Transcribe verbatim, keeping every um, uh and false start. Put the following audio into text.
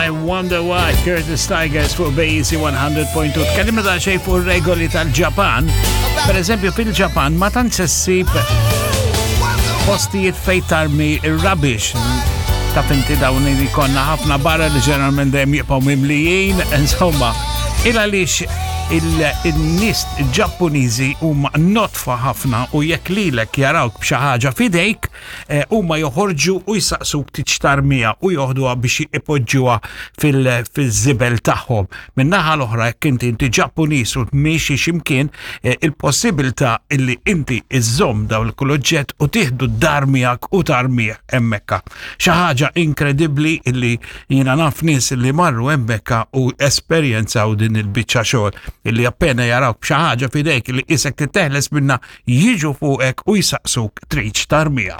I Wonder Why, Curtis Tigers fuq B E C one hundred point two. Tkellimna daqsxejn fuq regoli tal-Ġapan. Per eżempju, fil-Ġapan ma tantx issib postijiet fejn tarmi ir-rubbish. Taf inti dawn li konna ħafna barra li ġeneralment dejjem jibqgħu mimlijin, insomma, il għaliex il-nies Ġappuniżi huma nodfa ħafna u jekk lilek jarawk b'xi ħaġa f'idejk, eh, huma joħorġu u jsaqsuk tridx tarmiha u joħduha biex ipoġġuha fil-żibel tagħhom. Min-naħa l-oħra, jekk inti inti Ġappuniż u miexi x'imkien, eh, il-possibilità illi inti iżżomm dawn kull oġġett u tieħdu d-dar miegħek u tarmih hemmhekk. Xi ħaġa inkredibbli illi jiena naf nies illi marru hemmhekk u esperjenzaw din il-biċċa xogħol illi appena jarawk b'xi ħaġa f'idejk li isek titeħles minna, jiġu fuqek u jsaqsuk tridx tarmiha.